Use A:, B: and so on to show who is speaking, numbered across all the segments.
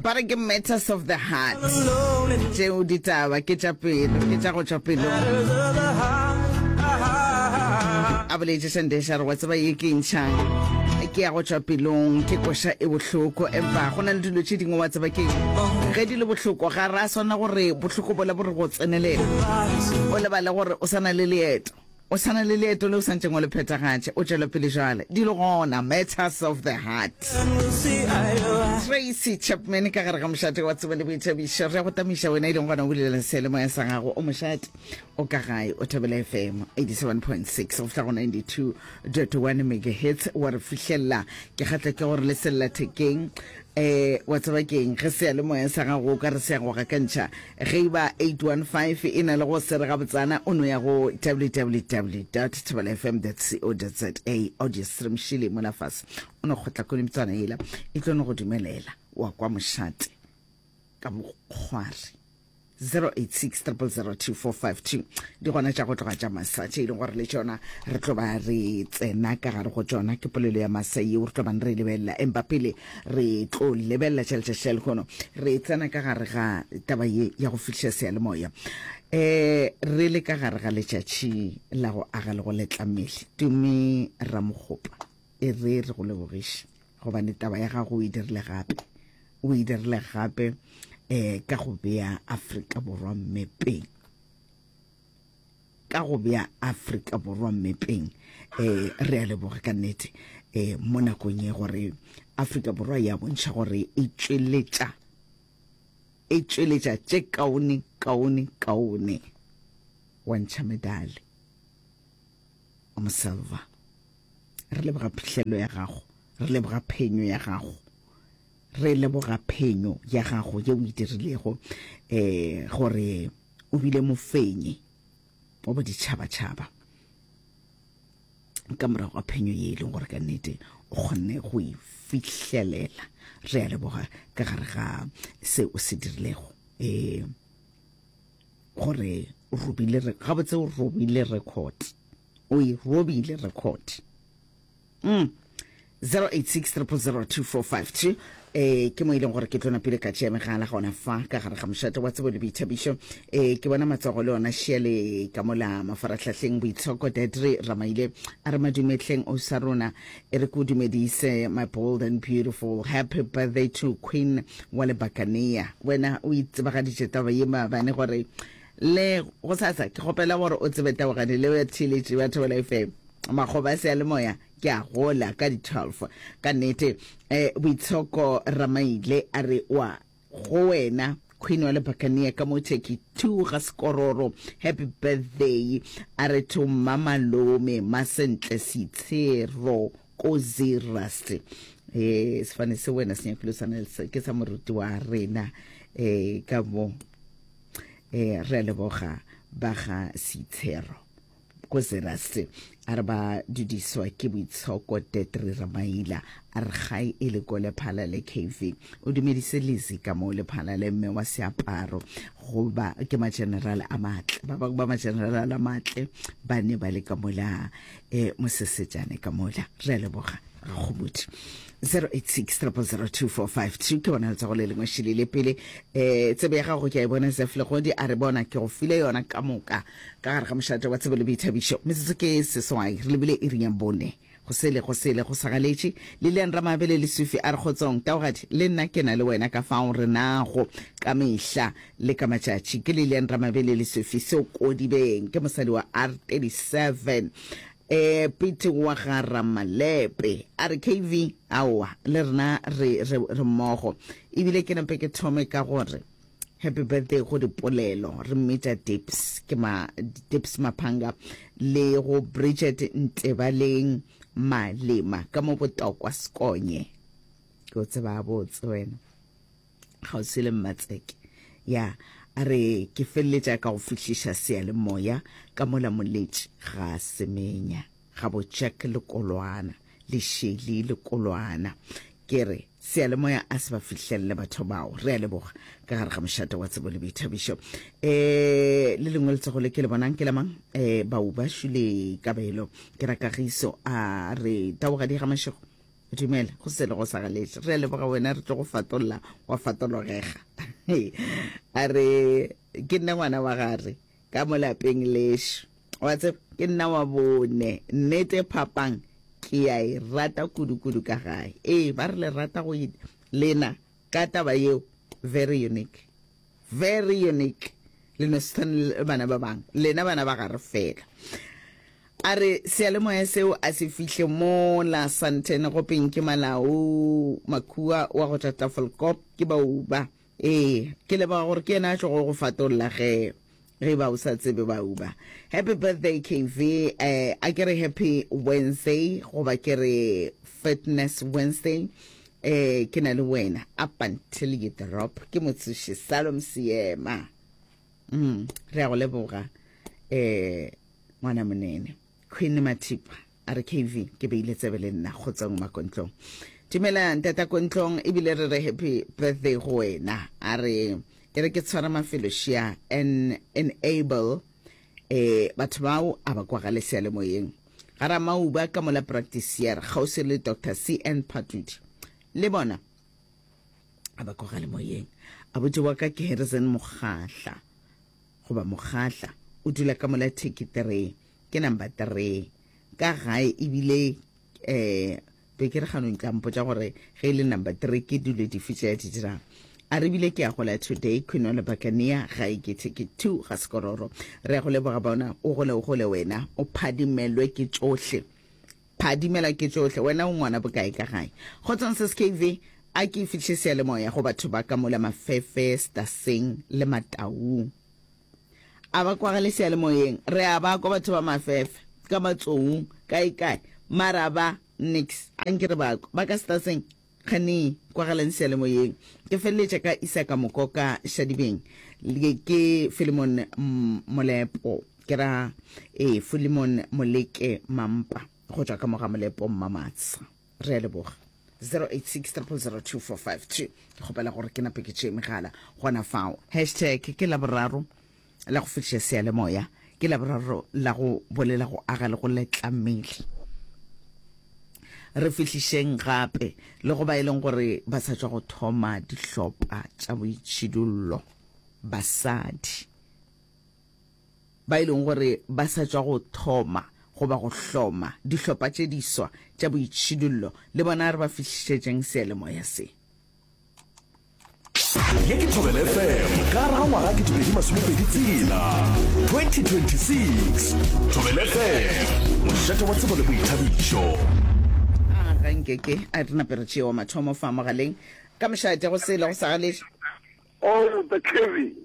A: Ba re ke matters of the heart. Tšeo ditaba ke tša pelo, ke tša go tšwa pelong. A boletše Shandesh a re wa tseba ye ke ntšhang ke ya go tšwa pelong, ke koša e bohloko, empa go na le dilo tše dingwe wa tseba ke ge di le bohloko ga ra swana gore bohloko bola bo re go tsenelela o lebale gore o sa na le leeto. O sa na le leeto le o santšeng o le phethagatše. O tšwela pele jwale. Di le gona. Matters of the Heart. Tracy Chapman ka gare ga mošate wa tsebo le boithabišo. Re a go tamiša wena e leng gona o bulela seyalemoya sa gago. O mošate o ka gae o Thobela FM 87.6 go fihla go 92.1 megahertz wa re fihlelela. Ke kgatla ke gore le sellathekeng Eh, wa tseba keng, ge seyalemoya sa gago o ka re se ya go gakantšha, ge e ba 815 e na le go se re gabotsana, o no ya go www dot thobelafm dot co dot za, audio stream šele mola fase, o no kgotla konimptswana yela, e tlo no go dumelela wa kwa mošate ka bokgwari. 086 000 2452 di gona tša go tloga tša masa tše e leng gore le tšona re tlo ba re tsena ka gare go tšona. Ke polelo ya masa yeo re tlo bang re e lebelela, empa pele re tlo lebelela tša letšatši la lehono, re tsena ka gare ga taba ye ya go fihliša seyalemoya. Um re le ka gare ga letšatši la go aga le go letla mmele, Tumi Ramokgopa, e re re go lebogiše gobane taba ya gago o e dirile gape. O e dirile gape um ka go bea Afrika Borwa mmepeng, ka go bea Afrika Borwa mmepeng. Um re a leboga ka nnete um mo nakong ye gore Afrika Borwa ya bontšha gore e tšweletša e tšweletša tše kaone kaone kaone wa ntšha medale o moselva. Re leboga phihlelo ya gago, re leboga phenyo ya gago. Re leboga phenyo ya gago ye o e dirilego, um gore o bile mofenyi wa boditšhabatšhaba ka morago ga phenyo ye e leng gore ka nnete o kgonne go e fihlelela. Re a leboga ka gare ga se o se dirilego, um gore o robile, gabotse o robile record, o e robile record. Mm. 086 000 2452 eh ke mo e leng gore ke tlo napile ka tšea megala gona fa ka gare ga mošate wa tsebo le boithabišo. Eh ke bona matsogo le ona šiale ka mola mafaratlhahleng. Boitshoko Dedre Ramaile a re madumetleng o sa rona, e re ko dumedise my bold and beautiful, happy birthday to queen wa lebakania. Wena o itsebagaditše taba ye maabane gore le go sasa ke kgopela gore o tsebe tabogane le ya theeletše ba Thobela FM. Makgoba a seyalemoya ke a gola ka di 12 ka nnete. Eh, Boitshoko Ramaile a re wa go wena Queen wa Lebakania ka mo Turkey 2 ga Sekororo, happy birthday. A re to Mmamalome Masentle Seitshero ko Zeerust. Eh, sefane se wena se nyakile o swana le se, ke sa moruti wa rena eh ka mo. Eh, re a leboga ba ga Seitshero ko Zeerust. A re ba dudiswa ke Boitshoko Tetri Ramaila, a re gae e le ko Lephalale KV. O dumedise Lizzy ka mo Lephalale, mme wa seaparo, goba ke mageneral a matle, ba bangwe ba mageneral a matle ba ne ba le ka mola eh, mosesetšane ka mola. Re a leboga Rakgobodi. 086 0002452 ke bona letsogo le lengwe šele le pele. Eh, tsebe ya gago ke a e bona Zef Legodi a re bona ke go file yona ka moka ka gare ga mošate wa tsebo le boithabišo. Metsotso ke seswai re lebile iring ya bone. Go sele go sele go sagaletše. Lilian Ramabele Lesufi a re kgotsong taogadi le nna ke na le wena ka fao re nago ka mehla le ka matšatši. Ke Lilian Ramabele Lesufi Seokodibeng, ke mosadi wa R37 eh Pete wa ga Ramalepe a re KV aowa le rena re re re mmogo. Ebile ke nape ke thome ka gore happy birthday go dipolelo re mmitša Dips, ke ma Dips Maphanga le go Bridget Ntebaleng Malema ka mo Botokwa Sekonye. Ke o tseba botse wena kgauswi le Mmatseke. Ya a re ke feleletša ka go fihliša seyalemoya ka mola moletši ga Semenya ga bo Jack Lekolwana le Shelly Lekolwana. Ke re seyalemoya a se ba fihlelele batho bao. Re a leboga ka gare ga mošate wa tsebo le boithabišo. Um le lengwe letsogo le ke le bonang ke la mang? Um Baubašu le Kabelo ke ra Kagiso a re taogadi ga Mašego. Dumela, go se le go sa galetše. Re a leboga wena, re tlo go fatolla wa fatologega. A re, ke nna ngwana wa gare ka mo lapeng lešo. Wa tseba, ke nna wa bone. Nnete phapang ke ya e rata kudu-kudu ka gae. Ee, ba re le rata go lena ka taba yeo, very unique. Very unique. Le no se tshwane le bana ba bangwe. Lena bana ba gare fela. A re seyalemoya seo a se fihle mola Sandton go Pinky Malau Makhua wa go tšwa Tafelkop ke Bauba. Ee, ke leboga gore ke yena a tlogo go fatolla ge ge ba o sa tsebe Bauba. Happy birthday KV, eh, a ke re happy Wednesday goba ke re fitness Wednesday. Eh, ke na le wena up until you drop. Ke motsoši Salom Seema. Mm, re a go leboga eh ngwana monene Queen Mathipa a re KV ke beile tsebe le nna go tswang makontlong. Dumela ntata kontlong ebile re re happy birthday go wena. A re e re ke tshwara mafelo shia and enable eh batho bao a ba kwagale seyalemoyeng. Ga Ramauba ka mola practice kgauswi le Dr CN Phatudi le bona a ba kwagale moyeng. Abuti wa ka ke Harrison Mokgahla goba Mokgahla, o dula ka mola Turkey 3, ke number 3 ka gae ebile eh be ke re ganong tla mpotša gore ge e le number 3 ke dilo dife tše a di dirang. A re bile ke ya gola today Queen wa Lebakania gae ke Turkey 2 ga Sekororo. Re ya go leboga bona o gole o gole wena o phadimelwe ke tšohle. Phadimela ke tšohle, wena o ngwana bokae ka gae? Kgotsong Sis KV, a ke fihle seyalemoya go batho ba ka mola Mafefe, Staseng le Mataung. A ba kwagale seyalemoyeng, re a ba kwa batho ba Mafefe, ka Matsoung, kae kae, mara ba, nix, a nke re ba kwa. Ba ka Staseng, kgane kwagalang seyalemoyeng. Ke feleletša ka Isaka Mokoka Shadibeng, le ke Philemon Molepo. Ke ra, ee, Philemon Moleke Mampa, go tšwa ka mo ga Molepo Mmamatsha. Re a leboga. 086 0002452. Ke kgopela gore ke nape ke tšee megala gona fao. Hashtag ke Laboraro la go fetiša seyalemoya. Ke Laboraro la go bolela, go aga le go letla mmele. Re fihlišeng gape le go ba e leng gore ba sa tšwa go thoma dihlopa tša boitšhidullo, basadi. Ba e leng gore ba sa tšwa go thoma goba go hloma dihlopha tše diswa tša boitšhidullo, le bona re ba fihlišetšeng seyalemoya se.
B: Ye ke Thobela FM ka gare ga ngwaga 2026, 2026. Thobela FM, mošate wa tsebo le boithabišo.
A: A ga nke ke a re nape re tšee wa mathomo fa mogaleng ka mošate go sele go sa galetše.
C: Oh, the Kevin.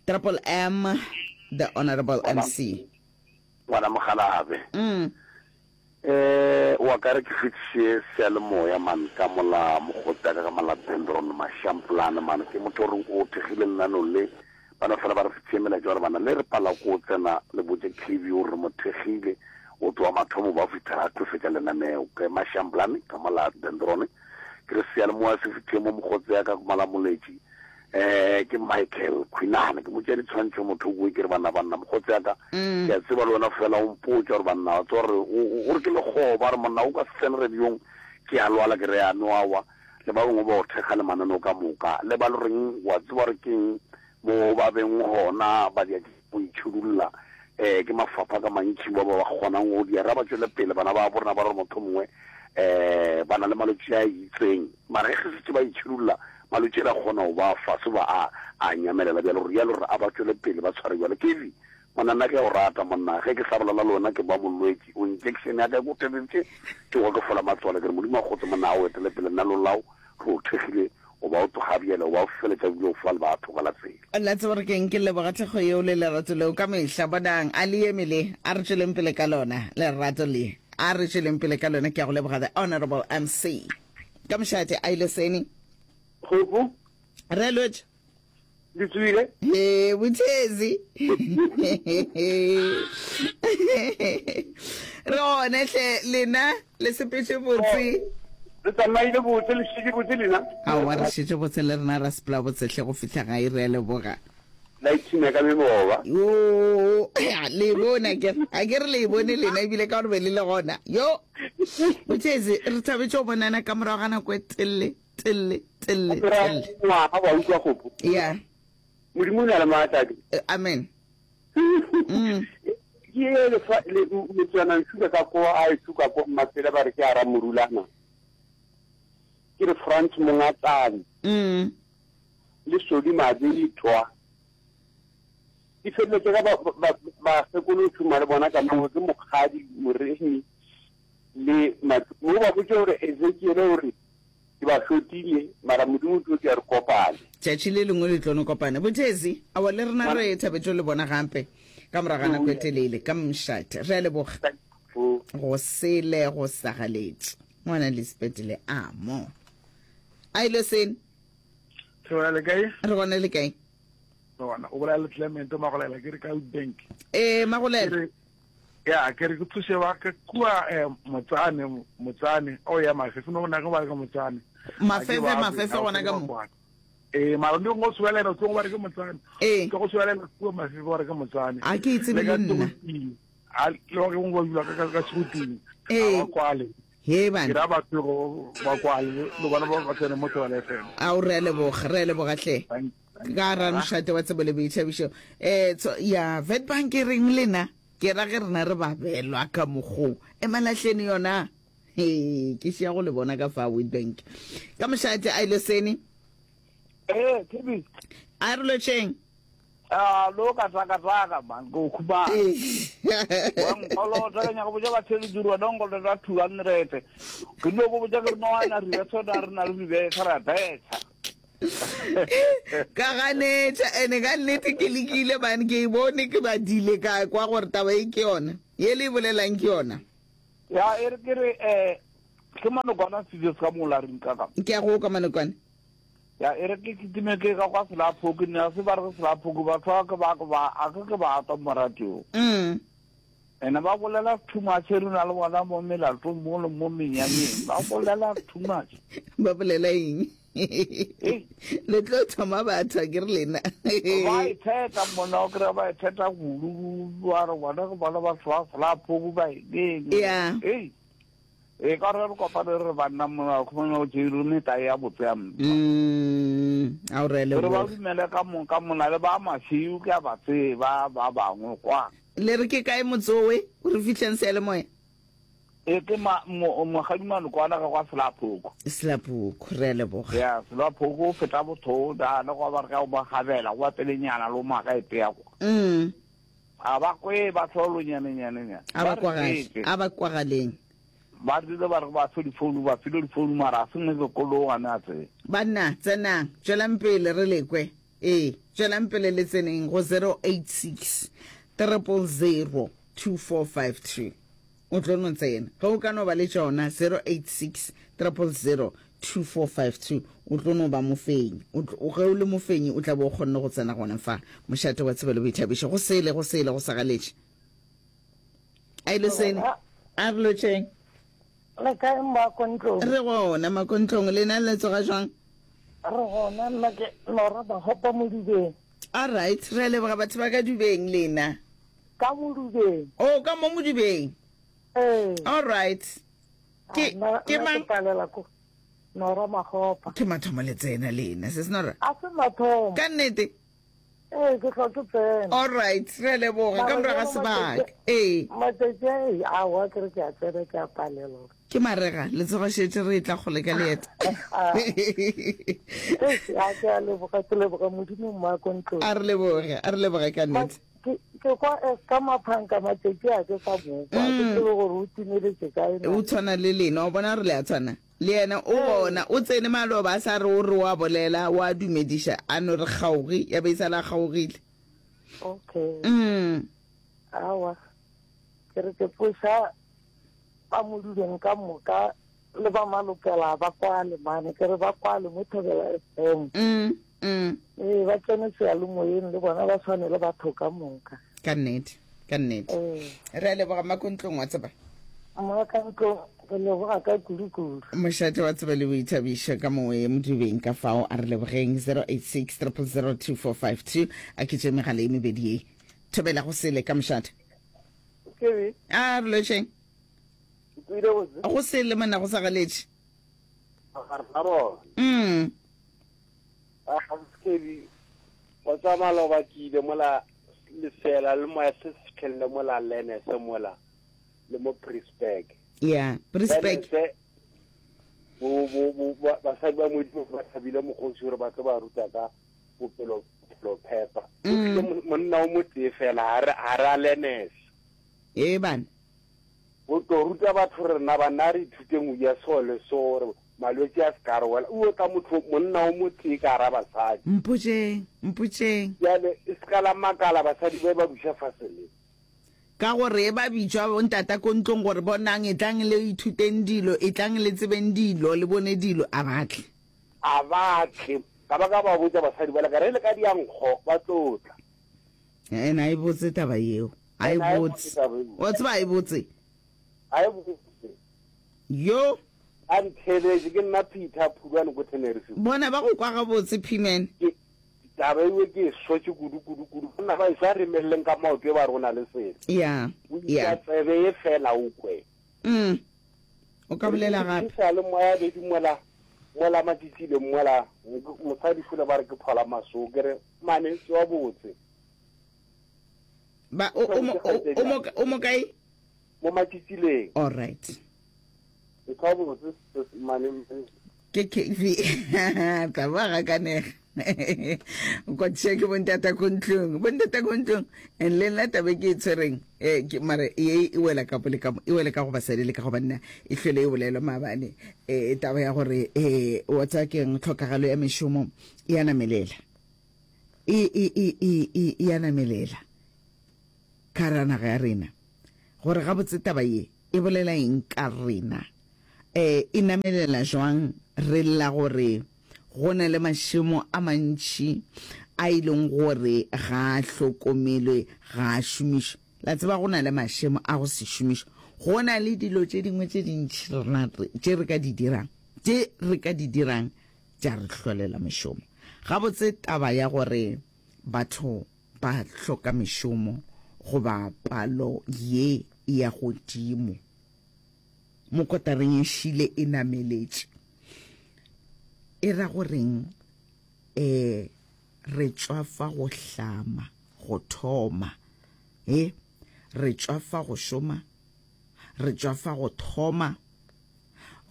A: Triple M, the Honorable MC.
C: Ngwana Mogalabe.
A: Mm.
C: Eh, wa ka re ke fetiše seyalemoya man ka mola mokgotsi ka ka malapeng Ron Mashamplane man ke motho o reng o thekgile lenaneo le ba no fela ba re fetiše melaetša gore bana le re pala ko tsena le botše KB o re mo thekgile o tloa mathomo ba fihla a tlo fetša lenaneo ke Mashamplane ka mola Dendron Ke re seyalemoya se fihle mo mokgotse ya ka Malamoletši. Eh, ke Michael Khwinane, ke motšea ditshwantšho motho o ke re banna banna mokgotse ya ka. Mm. Ke a tseba le wena fela o mpotša gore banna wa tseba gore o re ke lekgoba re monna o ka se tsene radiong ke a lwala ke re ya no awa le ba bangwe ba o thekga le mananeo ka moka le ba le reng wa tseba gore keng mo ba beng gona ba dia go itšhidulla um ke mafapha ka mantši ba ba kgonang go di ra ba tšwele pele bana ba borena ba re motho mongwe um ba na le malwetši a itseng mara ge setse ba itšhidulla malwetši a ra kgona go ba fase ba a a nyamelela bjalo gore jalo gore a ba tšwele pele ba tshware jalo kevi monna nna ke a o rata monna ge ke sa bolela le wena ke ba molwetši o injection ya ka e ko tebetše ke kwa ke fola matswalo ke re modimo a kgotse monna a o etele pele nna lolao re o thekgile o ba o tloga bjale o ba o feletša ebile o fa le batho ka la tsela.
A: La tseba gore ke'ng? Ke leboga thekgo yeo le lerato leo ka mehla. Bonang, a le eme le, a re tšweleng pele ka lona, lerato le. A re tšweleng pele ka lona. Ke a go leboga, The Honorable MC. Ka mošate, a ile seni.
C: Kgopu.
A: Re lotše.
C: Le tswile?
A: He, Bothezi. Re gone hle, lena le sepetše botse.
C: Le tsamaile botse, le šetše botse lena?
A: Aowa, re šetše botse le rena ra sepela botse hle go fihla gae, re a leboga.
C: La ipshina ka meboba.
A: Yo, le e bone akere, akere le e bone lena ebile ka gore be le le gona. Yo. Botšezi, re thabetše go bonana ka morago ga nako e telele, telele, telele, telele.
D: Ngwaga wa utlwa gopo.
A: Ya.
D: Modimo o na le maatla.
A: Eh, amen.
D: Mm. Ke e lefa le motswana nsuka ka ko a e suka ko mmasele ba re ke ara morulana. Ke re France mongatsane.
A: Mm.
D: Le sodi mabitwa. Di feleletše ka bakgekolo o šoma le bona ka moo ke mokgadi moremi le mo ba botše gore Ezekiele o re ke ba hlotile mara Modimo o tlo tšea re kopane.
A: Tšatši le lengwe le tlo no kopana. Bothezi, aowa le rena re thabetše le bona gape ka morago ga nako e telele ka mošate. Re a leboga. Go sele go sagaletše. Ngwana Lisbeth le amo. A ile sene.
E: Re le kae?
A: Re gona le kae?
E: Gona o bolela le Clement Magolela ke re ka Bank.
A: Eh Magolela.
E: Ya ke re ke thuse ba ke kua eh, motsane motsane o ya mafefe no na ke ba ke motsane.
A: Mafefe mafefe gona ka mo.
E: Eh mara ndi go suelela tlo go ba re ke motsane.
A: Eh.
E: Ke go suelela kua mafefe ba re ke motsane.
A: A ke itse le nna.
E: A le go go ba dula ka ka segoteng.
A: Eh.
E: A kwale.
A: He bana.
E: Ke ra batho ba kwale le bona ba tsene mo Thobela FM.
A: A o re a leboga, re a leboga hle. Ka ra mošate wa tsebo le boithabišo. Eh tso ya Witbank e reng lena? Ke ra ge rena re babelwa ka mokgo. Emalahleni yona. He ke šia go le bona ka fa Witbank. Ka mošate a ile sene.
F: Eh, Tibi.
A: A re lotšheng.
F: Ah, lo ka tsaka tsaka man, go khuma. Wa nkolota ka nyaka botša batheletši gore wena nkolota 200. Ke no go botša ke re no ana re betha na re na le dibetha ra betha.
A: Ka ganetša ene ka nnete ke lekile man ke e bone ke badile ka kwa gore taba e ke yona ye le e bolelang ke yona.
F: Ya e re ke re eh ke manokwana studios ka mo la reng ka ka.
A: Ke a go ka manokwane.
F: Ya e re ke kitime ke ka kwa Selaphoko ne a se ba re ke Selaphoko batho ba ke ba ke ba a ke ke ba twa mo radio.
A: Mm.
F: Ene ba bolela too much re na le bona mo melatong mo le mo menyanyeng ba bolela too much.
A: Ba bolela eng? Le tlo thoma batho ke re lena.
F: Ba itheta mona o kry ba itheta kudu ba re bona ke bona batho ba Selaphoko ba eng.
A: Yeah.
F: Ei. E ka re re kopane re banna mona khumana o tšeile meta ya botse ya mpa.
A: Mm, a o re
F: le. Re ba dumele ka mo ka mona le ba masiu ke a ba tseba ba bangwe kwa.
A: Le re ke kae motsowe o re fihleng seyalemoya?
F: E ke ma mo mogadi malokwana ga kwa Selaphoko.
A: Selaphoko re a leboga.
F: Ya Selaphoko o feta botho da le go ba re ka o ba gabela go ba pelenyana lo maka e tea kwa.
A: Mm.
F: A ba kwe ba tlholo nyane nyane nyane.
A: A ba kwagale. A ba kwagaleng.
F: Ba rile ba re ba fe difounu ba file difounu mara a se ne sekolo gane a tsebe.
A: Banna tsenang tšwelang pele re lekwe. Ee, tšwelang pele le tseneng go 086 000 2452. O tlo no tsena. Ge o ka no ba le tšona 086 000 2452, o tlo no ba mofenyi. O tlo, ge o le mofenyi o tla be o kgonne go tsena gona fa. Mošate wa tsebo le boithabišo. Go sele, go sele, go sagaletše. A ile sene. A re lotšheng.
G: Le kae Mmakontlong?
A: Re gona Makontlong, lena le tsoga jwang?
G: Re gona, nna ke Lora Bahopa Modubeng.
A: All right, re a leboga batho ba ka Dubeng lena.
G: Ka Modubeng.
A: Oh, ka mo Modubeng.
G: Ee.
A: All right. Ke
G: Ah,
A: ke mang?
G: Ke palela ko Nora Mahopa.
A: Ke mathomo le tsena lena, sis Nora.
G: A se mathomo.
A: Ka nnete.
G: Ee, ke hlwa ke tsena.
A: All right, re a leboga ka morago ga sebaka. Ee.
G: Matšatši a ee, aowa ke re ke a tsena ke a palelwa.
A: Ke marega, letsogo šetše re etla kgole ka leeto.
G: Eish, a ke a leboga, ke leboga Modimo mma ko ntlong.
A: A re leboge, a re leboge ka nnete.
G: Ke ke kwa Esther Maphanka matšatši a ke sa mokwa, ke tsebe gore o timeletše kae na.
A: O tshwana le lena, wa bona gore le a tshwana. Le yena o gona, o tsene maloba a sa re o re o a bolela, o a dumediša, a no re kgaogi, ya be e sala a kgaogile.
G: Okay.
A: Mm.
G: Aowa, ke re ke tsoša ba Moduleng ka moka le ba Malokela ba kwale mane, ke re ba kwale mo Thobela FM.
A: Mm, mm.
G: Ee, ba tsene seyalemoyeng le bona ba tshwane le batho ka moka.
A: Ka nnete, ka nnete.
G: Ee.
A: Re a leboga Mmakontlong wa tseba.
G: Mmakontlong, re leboga ka kudu-kudu.
A: Mošate wa tseba le boithabišo ka mowe Modubeng ka fao a re lebogeng 086 000 2452 a ke tše megala e mebedi ye. Thobela go sele ka mošate.
F: Kebe.
A: A re lotšheng.
D: Tswile botse.
A: Go sele monna go sa galetše.
D: Ga rena bona.
A: Mm.
D: A Skebi wa tsa maloba ke ile mola lefela le moya se se fitlhelele mola Lenese mola le mo Prisburg.
A: Yeah, Prisburg.
D: Lenese bo bo bo ba- basadi ba modimo ba thabile mokgosi gore ba tlo ba ruta ka bophelo bophelo phepa. O
A: Mm.
D: tlile mo- monna o motee fela ha re ha re a Lenese.
A: Ee bana.
D: Go tlo ruta batho rena banna re ithuteng go ja so le so gore malwetši a se ka re wela. O tla motho monna o motee ka gara basadi.
A: Mpotšeng, mpotšeng.
D: Bjale e se ka la makala basadi ba ba buša fase le.
A: Ka gore e ba bitšwa bontata ko ntlong gore bonang etlang le ithuteng dilo, etlang le tsebeng dilo, le bone dilo, a ba tle.
D: A ba tle. Ka ba ka ba botša basadi bale ka re le ka diankgo ba tlo tla.
A: Ene a e botse taba yeo. A e botse. Wa tseba a e botse.
D: A e botse.
A: Yo.
D: A ntheletše ke nna Peter Phulwane ko Tenerife.
A: Bona ba go kwa gabotse P-man.
D: Ke taba ewe ke e sotše kudu kudu kudu. Banna ba eso a re emeleleng ka maoto e ba re o na le selo.
A: Ya.
D: O isa tsebe e fela o kwe.
A: Mm. O ka bolela gape.
D: Ke sa le moya bedi mola mola matšitšile mola mosadi fule ba re ke phola maso ke re mane tsoa botse.
A: Ba o o o mo o mo kae?
D: Mo matšitšileng.
A: All right.
D: Ntho botse mane
A: ke KV tla ba gakanega kwatša ke bontata ko ntlong bontata ko ntlong and le nna tabe ke e tshwereng eh, ke mare ye e wela ka le ka e wela ka go basadi le ka go banna e hlwele e bolelwa maabane um taba ya gore um wa tsaya keng tlhokagalo ya mešomo e a namelela e e e e e e a namelela ka ra naga ya rena gore gabotse taba ye e bolela eng ka rena e e namelela jwang re lla gore go na le mašemo a mantši a e leng gore ga a hlokomelwe ga a šomišwe la tseba go na le mašemo a go se šomišwe go na le dilo tše dingwe tše dintši rena tše re ka di dirang tše re ka di dirang tša re hlolela mešomo. Gabotse taba ya gore batho ba hloka mešomo goba palo ye e ya godimo mo kotareng e šile e nameletše e ra goreng? E, re tšwafa go hlama, go thoma. E, re tšwafa go šoma, re tšwafa go thoma.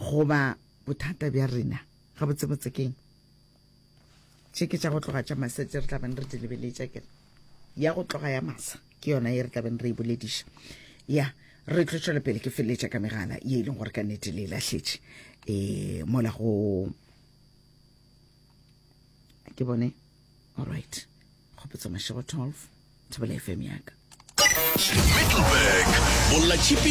A: Goba bothata bja rena gabotsebotse keng? Tše ke tša go tloga tša masa tše re tla beng re di lebeletša kere ya go tloga ya masa ke yona ye re tla beng re e bolediša. Ya re tlo tšwela pele ke feleletša ka megala ye e leng gore ka nnete le e lahletše um mola go ke bone alright kgopotso mašego 12 thobela fm yaka
B: Middelburg, Bolla Tšhipi.